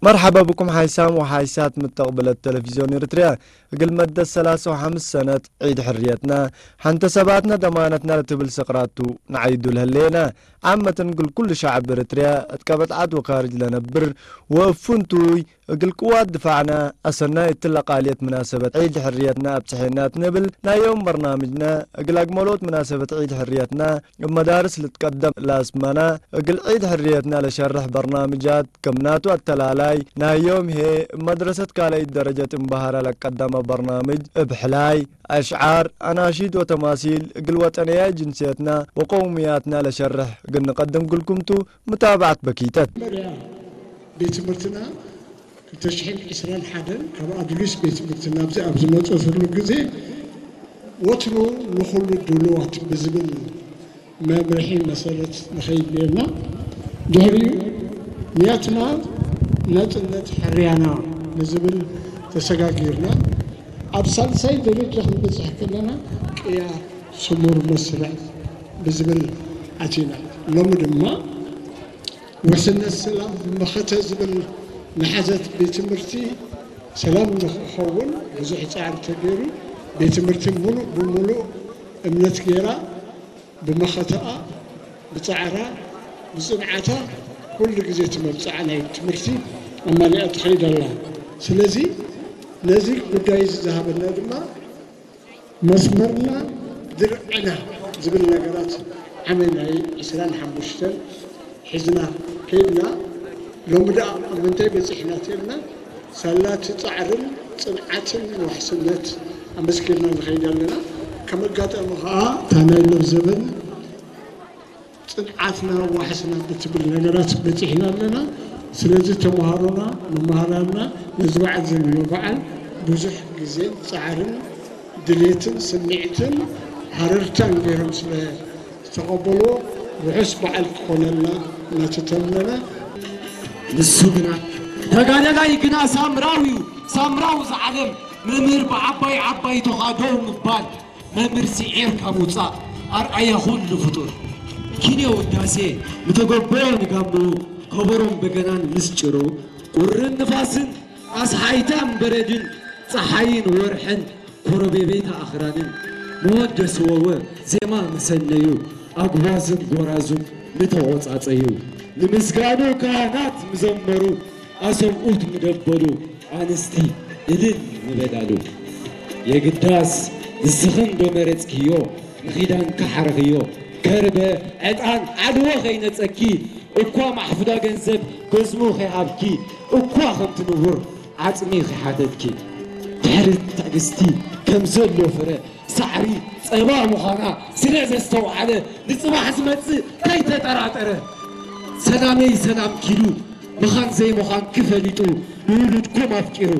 መርሓባ ብኩም ሓይሳም ወሓይሳት ምተቕብለት ተለቪዝዮን ኤርትርያ። እግል መደት ሰላሳ ወሓምስ ሰነት ዒድ ሕርየትና፣ ሓንተ ሰባትና ደማነትና ለትብል ሰቕራቱ ንዓይዱ ለህሌና። ዓመትን እግል ኩሉ ሸዕብ ኤርትርያ እት ቀበጽዓት ወካርጅ ለነብር ወእፉንቱይ እግል ቅዋት ድፋዕና ኣሰናይ እትለ ቃልየት ምናሰበት ዒድ ሕርየትና ኣብጽሐና ትንብል ናይ ዮም በርናምጅና እግል ኣግመሎት ምናሰበት ዒድ ሕርየትና እብ መዳርስ ልትቀደም ላስማና እግል ዒድ ሕርየትና ለሸርሕ በርናምጃት ከም ናቱ ኣተላላይ ናይ ዮም ሄ እብ መድረሰት ካልኣይት ደረጀት እምበሃራ ለቀደመ በርናምጅ እብ ሕላይ ኣሽዓር፣ ኣናሺድ ወተማሲል እግል ወጠንያይ ጅንስየትና ወቀውምያትና ለሸርሕ እግል ንቀድም ግልኩምቱ ምታብዓት በኪተት። መጀመርያ ቤት ትምህርትና ክልተ ሽሕን ዕስራን ሓደን ካብ ኣዱሊስ ቤት ትምህርቲ ናብዚ ኣብ ዝመጸትሉ ግዜ ወትሩ ንኹሉ ድሉዋት ብዝብል መምርሒ መሰረት ንኸይድ ነርና። ድሕሪኡ ንያትና ናጽነት ሕርያና ብዝብል ተሰጋጊርና ኣብ ሳልሳይ ደረጃ ክንበጽሕ ከለና ቅያ ስሙር መስርዕ ብዝብል ኣቲና። ሎሚ ድማ ውሕስነት ሰላም መኸተ ዝብል ንሓዘት ቤት ትምህርቲ ሰላም ንክኸውን ብዙሕ ጻዕሪ ተገይሩ። ቤት ትምህርቲ ሙሉእ ብሙሉእ እምነት ገይራ ብመኸተኣ፣ ብጻዕራ፣ ብጽንዓታ ኩሉ ግዜ እቲ መብጽዓ ናይ ትምህርቲ ኣማሊኣ ትኸይድ ኣላ። ስለዚ ነዚ ጉዳይ እዚ ዝሃበና ድማ መስመርና ድርዕና ዝብል ነገራት ዓመት ናይ ዕስራን ሓሙሽተን ሒዝና ከይድና። ሎሚ ደኣ ኣብ ምንታይ በጺሕና ተልና ሳላ እቲ ጻዕርን ጽንዓትን ውሕስነት ኣመስኪርና ንኸይድ ኣለና። ከም ኣጋጣሚ ኸኣ እታ ናይ ለብዘበን ጽንዓትና ዋሕስና ብትብል ነገራት በጺሕና ኣለና። ስለዚ ተምሃሮና መምሃራንና ነዚ በዓል እዚ ንምብዓል ብዙሕ ግዜን ጻዕርን ድሌትን ስምዒትን ሃረርታን ገይሮም ስለ ዝተቐበልዎ ውሑስ በዓል ክኾነልና እናተተመነ። ንሱ ግና ተጋዳላይ ግና ሳምራዊ እዩ ሳምራዊ ዝዓለም መምህር ብዓባይ ዓባይ ተኻዶ ምባል መምህር ስዒርካ ምውፃእ ኣርኣያ ኩሉ ፍጡር ኪንዮ ውዳሴ ምተገበዮ ንጋምኡ ከበሮን በገናን ምስ ጭሩ ቁርን ንፋስን ኣስሓይታን በረድን ፀሓይን ወርሕን ኮረቤቤታ ኣኽራንን መወደሲ ወወ ዜማ መሰነዩ ኣጉባዝን ጎራዙን ምተቖጻጸዩ ንምስጋኑ ካህናት ምዘመሩ ኣሰብኡት ምደበሉ ኣንስቲ እልል ምበላሉ የግዳስ ንስኽን ዶ መረጽክዮ ንኺዳን ካሓረኽዮ ከርበ ዕጣን ዓድወ ኸይነጸኪ እኳ ማሕፉዳ ገንዘብ በዝሙ ኸይሃብኪ እኳ ከምቲ ንቡር ዓጽሚ ኺሓተትኪ ድሕሪ ትዕግስቲ ከም ዘሎ ፍረ ሳዕሪ ጸባ ምዃና ስለ ዘስተውዓለ ንጽባሕ ዝመጽእ ከይተጠራጠረ ሰላመይ ሰላምኪ ኢሉ ምዃን ዘይምዃንኪ ፈሊጡ ንውሉድኩም ኣፍቂሩ